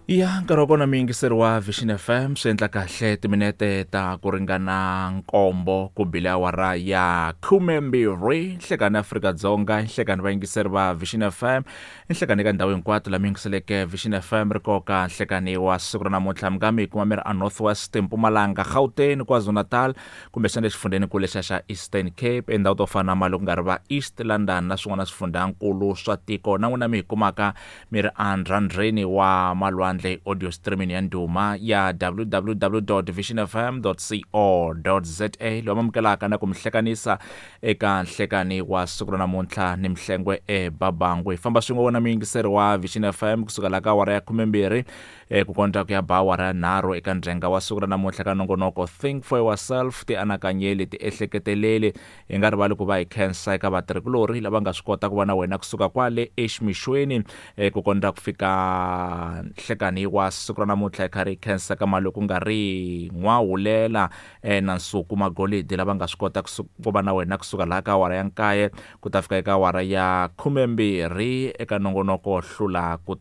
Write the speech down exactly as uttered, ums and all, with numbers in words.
Ya nkarhi wa kona muyingiseri wa Vision F M, swi endla kahle timinete ta ku ringana nkombo ku bile awara ya khumembirhi nhlekani Afrika-Dzonga, nhlekani vayingiseri va Vision F M, nhlekani eka ndhawu hinkwato la mi yingiseleke Vision F M ri koka nhlekani wa siku ra namuntlha. Mi nga mi kuma mi ri a North West, Mpumalanga, Gauteng, KwaZulu-Natal, kumbexana exifundzenikulu lexiya xa Eastern Cape, endhawu to fana na mali ku nga ri va East London na swin'wana swifundzhankulu swa tiko. Na n'wina mi hi kumaka mi ri endzhadeni wa malwandle, audio streaming ya ndhuma ya W W W vision F M co za, lowu amukelaka na ku mi hlekanisa eka nhlekani wa siku ra namuntlha ni Mhlengwe eBabangu. Hi famba swin'we wona muyingiseri wa Vision F M kusuka la ka awara ya khumembirhi eh, ku kondza ku ya ba awara ya nharhu eka ndzhenga wa siku ra namuntlha ka nongonoko Think for Yourself, ti anakanyeli, ti ehleketeleli. Hi nga rivali ku va hi khensa eka vatirhikulorhi lava nga swi kota ku va na wena kusuka kwale eximixweni eh, ku kondza ku fika nhlekani wa siku ra namuntlha. Hi karhi hi khensa ka mali ku nga ri N'wahulela eh, na Nsuku Magolidi lava nga swi kota ku va na wena kusuka laha ka awara ya nkaye ku ta fika eka awara ya khumembirhi eka nongonoko Hlula ku